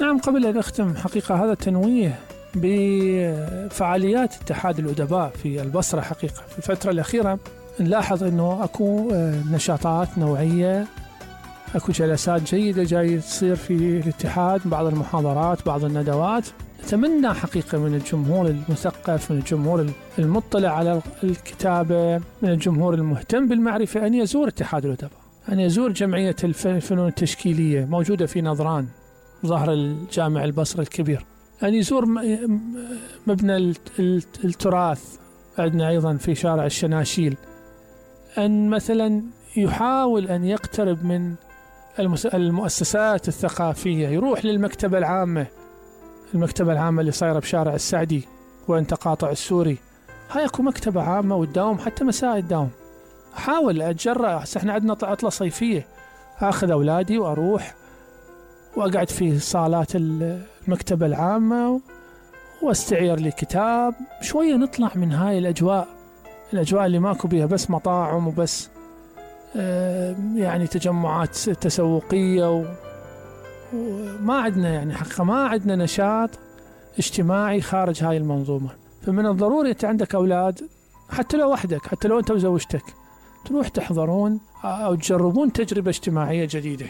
نعم، قبل أن أختم حقيقة هذا تنويه بفعاليات اتحاد الأدباء في البصرة. حقيقة في الفترة الأخيرة نلاحظ أنه أكو نشاطات نوعية، أكو جلسات جيدة جاي تصير في الاتحاد، بعض المحاضرات، بعض الندوات. نتمنى حقيقة من الجمهور المثقف، من الجمهور المطلع على الكتابة، من الجمهور المهتم بالمعرفة، أن يزور اتحاد الأدباء، أن يزور جمعية الفنون التشكيلية موجودة في نظران ظهر الجامع البصري الكبير، أن يزور مبنى التراث عندنا أيضا في شارع الشناشيل، أن مثلا يحاول أن يقترب من المؤسسات الثقافية، يروح للمكتبة العامة، المكتبة العامة اللي صايرة بشارع السعدي وين تقاطع السوري، هاي اكو مكتبة عامة وتداوم حتى مساء الدوام. أحاول أتجرأ، هسه احنا عندنا عطلة صيفية، أخذ أولادي وأروح وأقعد في صالات المكتبة العامة واستعير لي كتاب شوية، نطلع من هاي الأجواء اللي ماكو بيها بس مطاعم وبس يعني تجمعات تسوقية، وما عندنا يعني حقيقة ما عندنا نشاط اجتماعي خارج هاي المنظومة. فمن الضروري أنت عندك أولاد، حتى لو وحدك، حتى لو أنت وزوجتك، تروح تحضرون أو تجربون تجربة اجتماعية جديدة،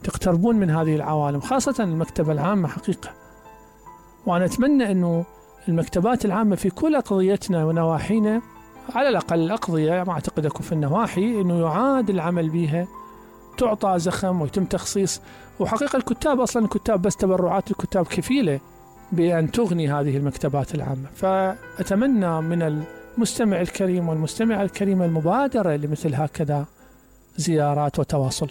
تقتربون من هذه العوالم، خاصة المكتبة العامة حقيقة. وأنا أتمنى أنه المكتبات العامة في كل أقضيتنا ونواحينا، على الأقل الأقضية، ما أعتقد أكو في النواحي، أنه يعاد العمل بها، تعطى زخم ويتم تخصيص. وحقيقة الكتاب أصلا، الكتاب بس تبرعات الكتاب كفيلة بأن تغني هذه المكتبات العامة. فأتمنى من المستمع الكريم والمستمع الكريمة المبادرة لمثل هكذا زيارات وتواصل.